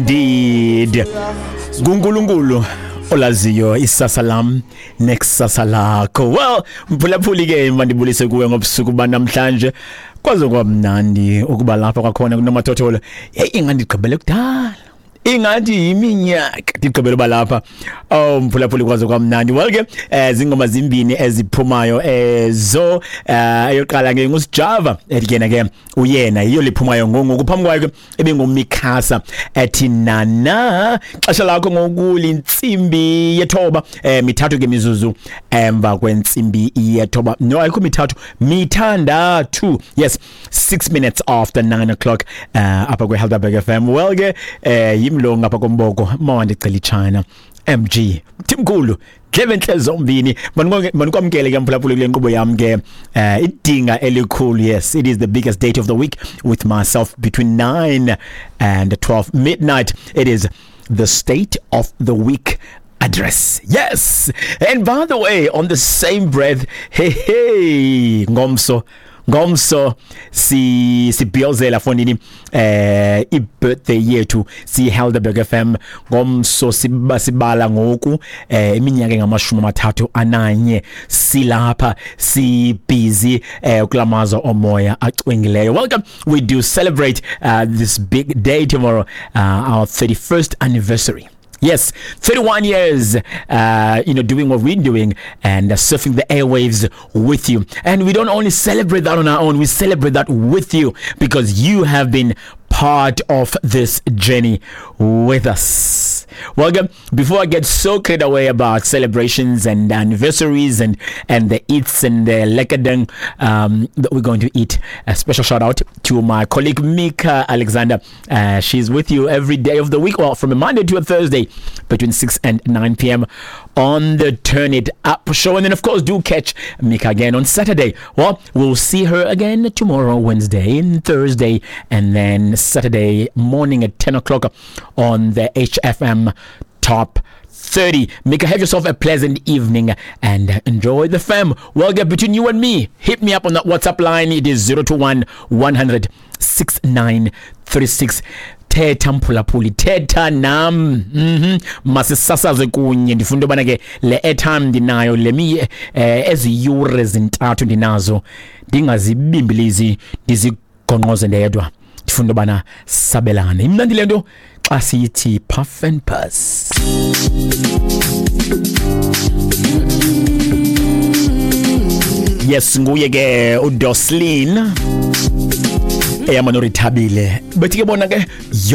Indeed. NguNkulunkulu olaziyo isasa lam nekusasa lakho. Well, mphulaphuli ke, mandibulise kuwe ngobusuku banamhlanje. Kwaze kwamnandi ukuba lapha kwakhona kunomathotholo. Hey, ingandigqibele kudala. Ingathi yiminyaka ndigqibele uba lapha. Oh mphulaphuli, kwaze kwamnandi. Well ke, zingoma zimbini eziphumayo ezo. Eyoqala ke nguSjava ethi ke ke uyena, yiyo liphumayo ngoku. Phambi kwayo ke ebinguMikhasa ethi nana. Xesha lakho ngoku lintsimbi yethoba 3 ke mizuzu emva kwentsimbi yethoba. No, ayikho 3, 6. Yes, 6 minutes after 9 o'clock apha kwe-Helderberg FM. Well ke, yimlo ngapha komboko mawandicela ichina MG Mthimkhulu dlebe zombini. Manikwamkele ke mphulaphuli kule nkqubo yam ke, idinga elikhulu. Yes, it is the biggest date of the week with myself between 9 and 12 midnight. It is the State of the Week Address. Yes, and by the way, on the same breath, hey hey, ngomso ngomso si sibhiyozela fonini i-birthday yethu si Helderberg FM. Ngomso siba sibala ngoku iminyaka engamashumi 31 silapha, si busy kulamazwe omoya acwengileyo. Welcome. We do celebrate this big day tomorrow, our 31st anniversary. Yes, 31 years, doing what we're doing and surfing the airwaves with you. And we don't only celebrate that on our own, we celebrate that with you because you have been part of this journey with us. Welcome. Before I get so carried away about celebrations and anniversaries and the eats and the lekkerding that we're going to eat, a special shout out to my colleague Mika Alexander. She's with you every day of the week, well, from a Monday to a Thursday between 6 and 9 p.m. on the Turn It Up show. And then, of course, do catch Mika again on Saturday. Well, we'll see her again tomorrow, Wednesday and Thursday, and then Saturday morning at 10 o'clock on the HFM Top 30. Mika, have yourself a pleasant evening and enjoy the fam. Well, get between you and me. Hit me up on that WhatsApp line. It is 021 100 6936. Thetha mphulaphuli, thetha nam. Masisasaze kunye. Ndifuna into yobana ke le airtime ndinayo, le mi ezi yure 3 ndinazo, ndingazibimbilizi ndizigonqoze ndedwa. Ndifuna into yobana sabelane. Imnandi le nto xa siyithi puff and pass. Yes, nguye ke uDoslin eyama noRithabile, bethi ke bona ke